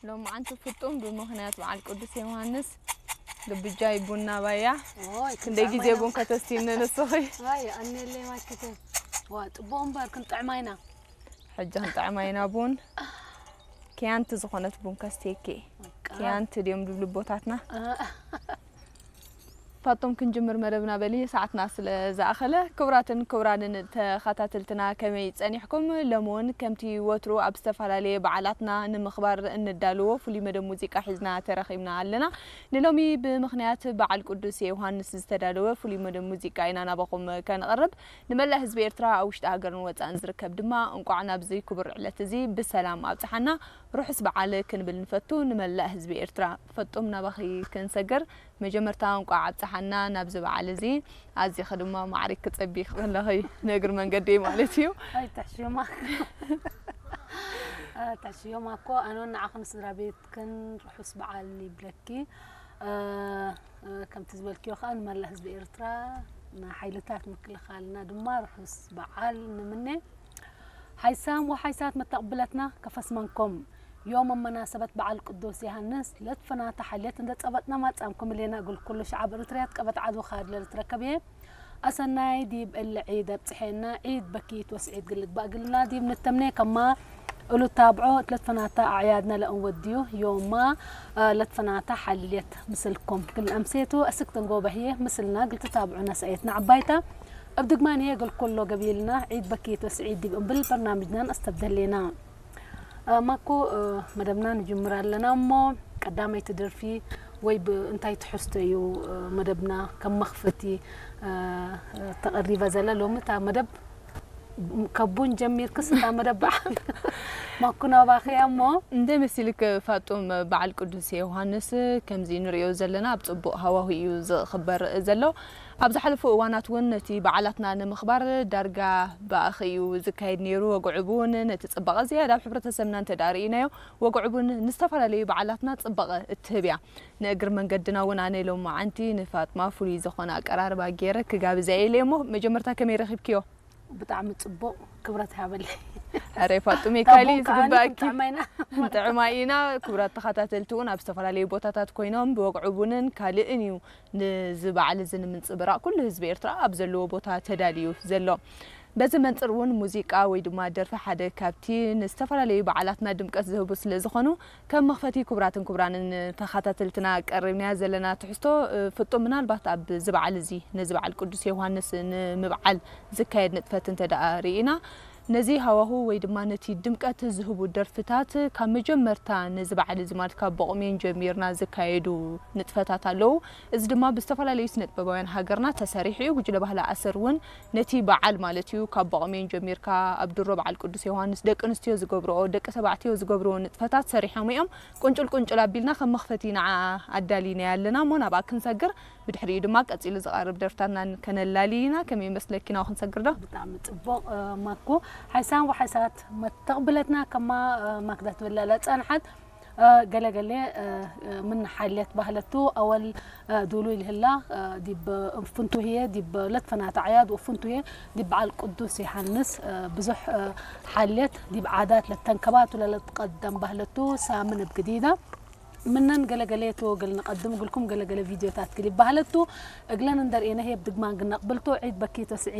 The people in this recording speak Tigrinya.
ሎማዓንቲ ፍጡም ብምኽንያት በዓል ቅዱስ ዮሃንስ ልብጃይ ቡና ባያ ኦይ ክንደይ ግዜ ቡን ከተስትይኒ ንስኺ? ኣይ ኣነለይ ማክተ ዋ ጽቡቕ እምበር ክንጥዕማ ኢና። ሕጂ ክንጥዕማ ኢና ቡን። ኪያንቲ ዝኾነት ቡን ከስትየኪ። ኪያንቲ ድዮም ድብሉ ኣቦታትና። ፋጡም ክንጅምር መደብና በሊ ሰዓትና ስለ ዝኣኸለ። ክቡራትን ክቡራንን ተኸታተልትና ከመይ ጸኒሕኩም? ሎሚ እውን ከምቲ ወትሩ ኣብ ዝተፈላለየ በዓላትና ንምኽባር እንዳለዎ ፍሉይ መደብ ሙዚቃ ሒዝና ተረኺብና ኣለና። ንሎሚ ብምኽንያት በዓል ቅዱስ ዮሃንስ ዝተዳለወ ፍሉይ መደብ ሙዚቃ ኢና ናባኹም ከነቕርብ። ንመላእ ህዝቢ ኤርትራ ኣብ ውሽጢ ሃገርን ወጻእን ዝርከብ ድማ እንቋዕ ናብዚ ክቡር ዕለት እዚ ብሰላም ኣብጽሓና። ርሑስ በዓል ክንብል ንፈቱ ንመላእ ህዝቢ ኤርትራ። ፈጡም ናባኺ ክንሰግር። መጀመርታ እንቋዕ ኣብጽሓና ናብዚ በዓል እዚ። ኣዚኺ ድማ ማዕሪክ ክጸቢኽ ከለኺ ንእግሪ መንገዲ ማለት እዩ። ኣይትሕሽዮማ ኣይትሕሽዮማ እኮ ኣነውን ንዓኹም ስድራ ቤትክን ርሑስ በዓል ይብለኪ። ከምቲ ዝበልክዮ ከዓ ንመላእ ህዝቢ ኤርትራ ንሓይልታት ምክልኻልና ድማ ርሑስ በዓል ንምነ። ሓይሳም ወሓይሳት መተቕብለትና ከፈስመንኩም ዮም መመናሰበት በዓል ቅዱስ ዮሃንስ ለትፈናታ ሓልየት እንደ ጸበጥና ማጻምኩም ሌና እግል ኩሉ ሸዓብ ኤርትርያት ቀበት ዓዱ ካድ ለልትረከብ እየ። ኣሰናይ ዲብ እለ ዒድ ኣብጽሐና ዒድ በኪት ወስዒድ ግልግባእ ግልና ዲብ ንተምኔ ከማ እሉ ታብዖ ለትፈናታ ኣዕያድና ለእንወድዩ ዮማ ለትፈናታ ሓልየት ምስልኩም ግል ኣምሴቱ እስክተን ጎበህየ ምስልና ግልቲ ታብዑና ሰኤትና ዓባይታ እብ ድግማን እየ ግል ኩሎ ገቢልና ዒድ በኪት ወስዒድ ዲብ እምብል በርናምጅናን ኣስተብደሌና። ማኮ መደብና ንጅምር ኣለና እሞ ቀዳመይቲ ደርፊ ወይ እንታይ ትሕዝቶ እዩ መደብና ከም መኽፈቲ ተቐሪባ ዘላ ሎሚ እታ መደብ ከቡን ጀሚርክስ እታ መደብ በዓል ማኮ ናባኺ እያ እሞ። እንደ መሲልክ ፋጡም በዓል ቅዱስ ዮሃንስ ከምዚ ንሪኦ ዘለና ኣብ ጽቡቕ ሃዋሁ እዩ ዝኽበር ዘሎ። ኣብ ዝሓለፉ እዋናት እውን ነቲ በዓላትና ንምኽባር ዳርጋ ብኣኺ እዩ ዝካየድ ነይሩ። ወግዑ እውን ነቲ ጽባቐ ዝያዳ ኣብ ሕብረተሰብና እንተ ደኣ ርኢናዮ፣ ወግዑ እውን ንዝተፈላለዩ በዓላትና ጽባቐ እትህብ እያ። ንእግሪ መንገድና እውን ኣነ ሎማዓንቲ ንፋጥማ ፍሉይ ዝኾነ ኣቀራርባ ገይረ ክጋብዛ ኢለ እሞ መጀመርታ ከመይ ረኺብክዮ? ብጣዕሚ ጽቡቕ ክብረት ሃበለይ። ኣረ ፋጡሜ ካሊ ዝግባእኪ ጥዕማ ኢና። ክቡራት ተኸታተልቲ እውን ኣብ ዝተፈላለዩ ቦታታት ኮይኖም ብወግዒ ቡንን ካልእን እዩ ንዚ በዓል እዚ ንምንጽብራቕ ኩሉ ህዝቢ ኤርትራ ኣብ ዘለዎ ቦታ ተዳልዩ ዘሎ። በዚ መንጽር እውን ሙዚቃ ወይ ድማ ደርፊ ሓደ ካብቲ ንዝተፈላለዩ በዓላትና ድምቀት ዝህቡ ስለ ዝኾኑ ከም መኽፈቲ ክቡራትን ክቡራንን ተኸታተልትና ቀሪብናያ ዘለና ትሕዝቶ ፍጡም ምናልባት ኣብዚ በዓል እዚ ነዚ በዓል ቅዱስ ዮሃንስ ንምብዓል ዝካየድ ንጥፈት እንተ ደኣ ርኢና ነዚ ሃዋሁ ወይ ድማ ነቲ ድምቀት ዝህቡ ደርፍታት ካብ መጀመርታ ነዚ በዓል እዚ ማለት ካብ ቦቕሜን ጀሚርና ዝካየዱ ንጥፈታት ኣለዉ። እዚ ድማ ብዝተፈላለዩ ስነጥበባውያን ሃገርና ተሰሪሑ እዩ። ጉጅለ ባህሊ ኣሰር እውን ነቲ በዓል ማለት እዩ ካብ ቦቕሜን ጀሚርካ ኣብ ድሮ በዓል ቅዱስ ዮሃንስ ደቂ ኣንስትዮ ዝገብርኦ ደቂ ተባዕትዮ ዝገብርዎ ንጥፈታት ሰሪሖም እዮም። ቁንጭል ቁንጭል ኣቢልና ከም መኽፈቲ ንዓ ኣዳሊናያ ኣለና እሞ ናብኣ ክንሰግር ብድሕሪኡ ድማ ቀጺሉ ዝቐርብ ደርፍታትና ከነላሊ ኢና። ከመይ ይመስለኪ ናብኡ ክንሰግር ዶ? ብጣዕሚ ጽቡቕ ማኮ ሓይሳን ወሓይሳት መተቕብለትና ከማ ማክዳ ትብላላ ጸንሓት ገለገሌ ምን ሓልየት ባህለቱ ኣወል ዱሉ ይልህላ ዲብ ፍንቱህየ ዲብ ለትፈናት ኣዕያድ ወፍንቱህየ ዲብ በዓል ቅዱስ ዮሃንስ ብዙሕ ሓልየት ዲብ ዓዳት ለተንከባቱ ለለትቀደም ባህለቱ ሳምን እብ ግዲዳ ምነን ገለገሌ ተወግል ንቀድም እግልኩም ገለገለ ቪድዮታት ግል ይባህለቱ እግለን እንደርእየነ ህየብ ድግማን ግነቅብልቶ ዒድ በኪ ተስዒ